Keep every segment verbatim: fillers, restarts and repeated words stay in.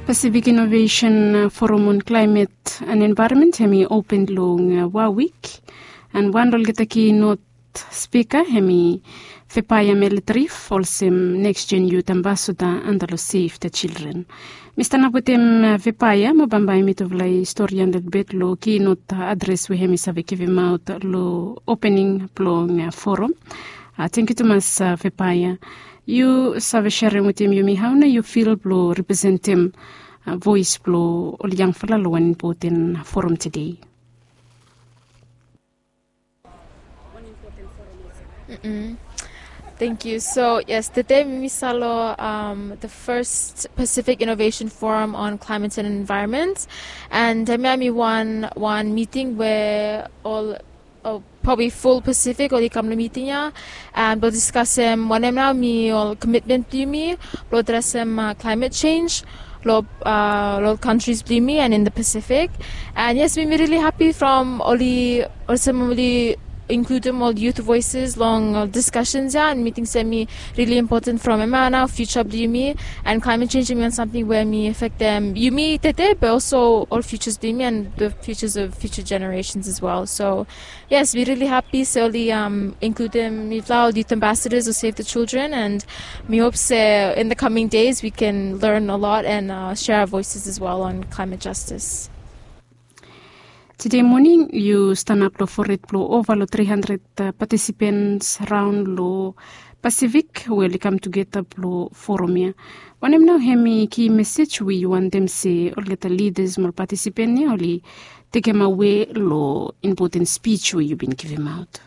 Pacific Innovation Forum on Climate and Environment hemi open long wawik, and wan long olgeta keynote speaker hemi Vepaya Melitrif olsem Next Gen Youth Ambassador anda long Save the Children. Mi stanap wetem Vepaya mo bambae mitufala i storian lelebet long keynote adres we hemi save givimaot long opening blong forum. Tengkiu tumas Vepaya. Yu save serem wetem yumi hao nao yu fil blong representem voes blong ol yangfala long wan impoten forum tede? Thank you. So yes, tede mi stap long the first Pacific Innovation Forum on Climate and Environment, and hemia hemi wan wan miting we ol probably ful Pacific oli kam long miting ia, and blong diskasem wanem nao hemi ol komitmen blong yumi blong adresem climate change long ol kantris blong yumi and in the Pacific. And yes, mi mi rili hapi from oli olsem oli inkludim ol youth voices long ol diskasens ia, and mi ting se hemi rili impoten from hemia nao future blong yumi, and climate change hemi wan samting we hemi afektem yumi tede, but also ol futures blong yumi and the futures of future generations as well. So yes, mi rili hapi se oli inkludim mifala ol youth ambassadors of Save the Children, and mi hop se in the coming days we can learn a lot and share our voices as well on climate justice. Tede moning yu stanap long fored blong ova long tri handred patisipens raon long Pasifik we oli kam tugeta blong forum ia. Wanem nao hemi ki mesej we yu wantem se olgeta lidas mo ol patisipen ia oli tekemawe long impoten spij we yu bin givimaot?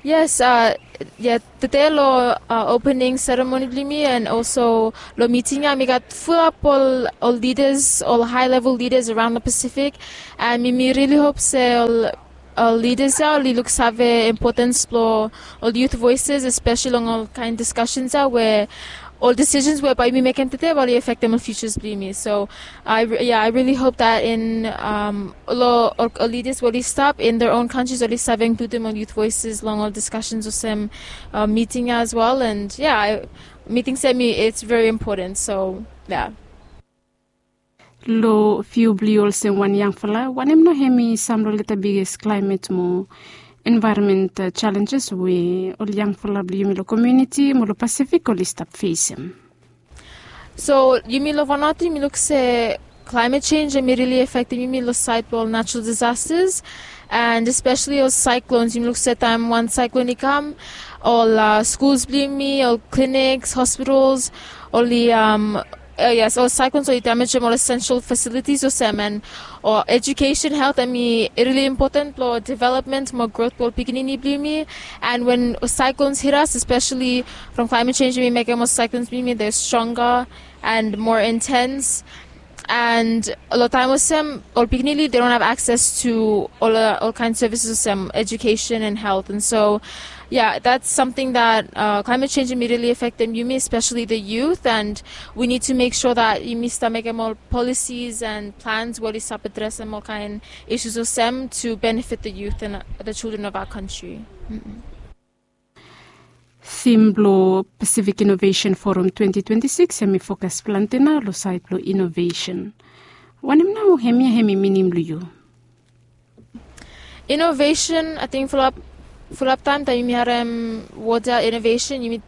Yes, ia tede long opening seremoni blong yumi and also long miting ia mi gat fulap ol ol lidas, ol hae level lidas araon long Pasifik, and mi mi rili hop se ol ol lidas ia oli luksave impotens blong ol youth voices, especially long ol kaen diskasens ia we ol disisens we bae yumi mekem tede bae oli afektem ol futures blong yumi. So ia, I really hope that in ol ol leaders we oli stap in their own countries oli save inkludim ol youth voices long ol discussions olsem miting ia as well. And ia, mi ting se hemi it's very important. So ia. Long viu blong yu olsem wan yangfala, wanem nao hemi sam long olgeta biggest climate mo environment challenges we ol yangfala blong yumi long komuniti mo long Pasifik oli stap fesem? So yumi long Vanuatu yumi luk se climate change hemi rili afektem yumi long saed blong ol natural disasters, and especially ol cyclones. Yumi luk se taem wan cyclone i kam, ol skuls blong yumi, ol clinics, hospitals, oli yes, ol cyclones oli damajem ol essential facilities olsem, and ol education, health, hemi rili impoten blong development mo growth blong ol pikinini blong yumi. And when cyclones hit us, especially from climate change, hemi mekem ol cyclones blong yumi they're stronger and more intense. And a lot of time olsem ol pikinini they don't have access to ol ol kaen services olsem education and health. And so yeah, that's something that climate change hemi rili afektem yumi, especially the youth, and we need to make sure that yumi stap mekem ol policies and plans we oli stap adresem ol kaen issues olsem to benefit the youth and the children of our country. Theme blong Pacific Innovation Forum twenty twenty-six hemi fokas plante nao long saed blong innovation. Wanem nao hemia hemi minim long yu? Innovation, ating fulap fulap taem taem yumi harem wod ia innovation yumi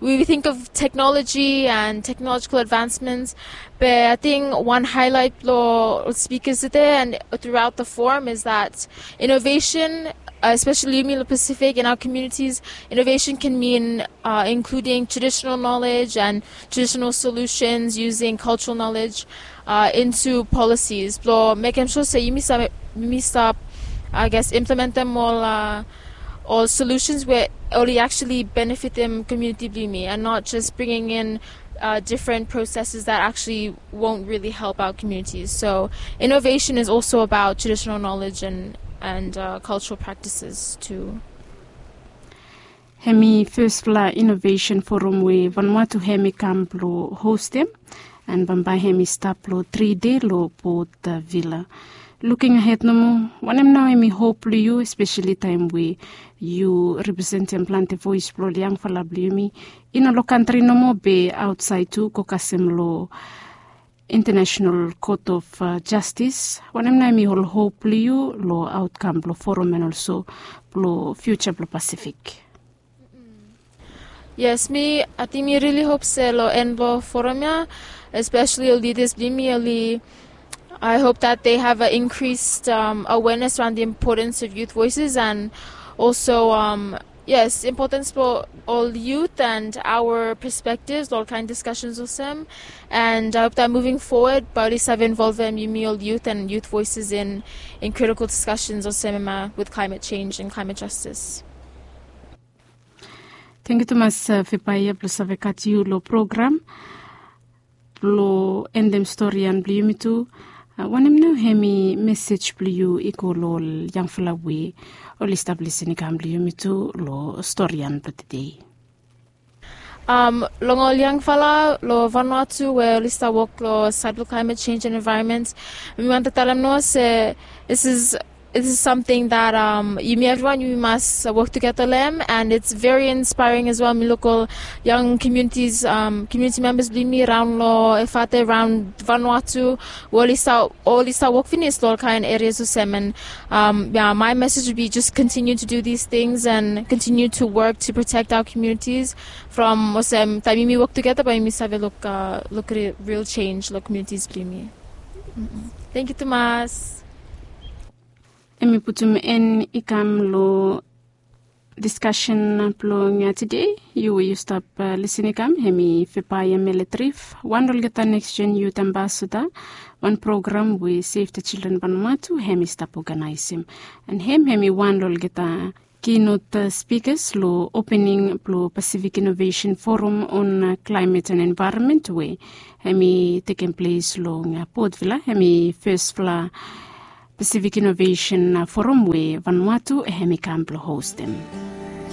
we think of technology and technological advancements. But ating wan highlight blong ol speakers tede and throughout the forum is that innovation, especially yumi long Pacific, in our communities, innovation can mean including traditional knowledge and traditional solutions using cultural knowledge into policies blong mekem sua se yumi stap yumi stap I guess implementem ol ol solutions we oli actually benefitem komuniti blong yumi and not just bringing in different processes that actually won't really help our communities. So innovation is also about traditional knowledge and and cultural practices too. Hemi fesfala innovation forum we Vanuatu hemi kam blong hostem, and bambae hemi stap long tri dei long Port Vila. Luking ahed nomo, wanem nao hemi hop blong yu, espeseli taem we yu representem plante voes blong ol yangfala blong yumi i no long kantri nomo be aotsaed tu, go kasem long International Court of Justice, wanem nao hem i ol hop blong yu long aotkam blong forum and also blong fiuja blong Pasifik? Yes, mi ating mi rili hop se long en blong forum ya, especially ol lidas blong yumi, oli, I hope that they have an increased um, awareness around the importance of youth voices and also um, yes, importance for all youth and our perspectives, ol kaen discussions olsem. And I hope that moving forward bae oli save involvem yumi ol youth and youth voices in, in critical discussions olsem ema with climate change and climate justice. Tangkiu tumas Fepaia blong save gat yu long program. Blong endem storian blong yumi tu, wanem nao hem i mesej blong yu i go long ol yangfala we oli stap lisin i kam blong yumi tu long storian blong tede? Um, long ol yangfala long Vanuatu we oli stap wok long side blong climate change and environment, mi wantem talem nao se this is this is something that um, yumi evriwan yumi mas wok tugeta long hem, and it's very inspiring as well. Mi luk ol yang communities, um, community members blong yumi raon long Efate, raon Vanuatu, we oli stap, oli stap wok finis long ol kaen areas olsem. And um, yeah, my message would be just continue to do these things and continue to work to protect our communities from olsem taem yumi wok tugeta bae yumi save luk, uh, luk real change long communities blong yumi. Tangkiu tumas. Hem i putum en i kam long diskasen blong tede. Yu we yu stap lisin i kam, hem i Fepaia Meletrif, wan olgeta Next Gen Youth Ambassador, wan program we Save the Children Vanuatu hem i stap oganaesem. And hem hem i wan olgeta keynote speakers long opening blong Pacific Innovation Forum on Climate and Environment we hem i tekem ples long Port Vila. Hem i fesfala Pacific Innovation Forum we Vanuatu hem i kam blong hostem.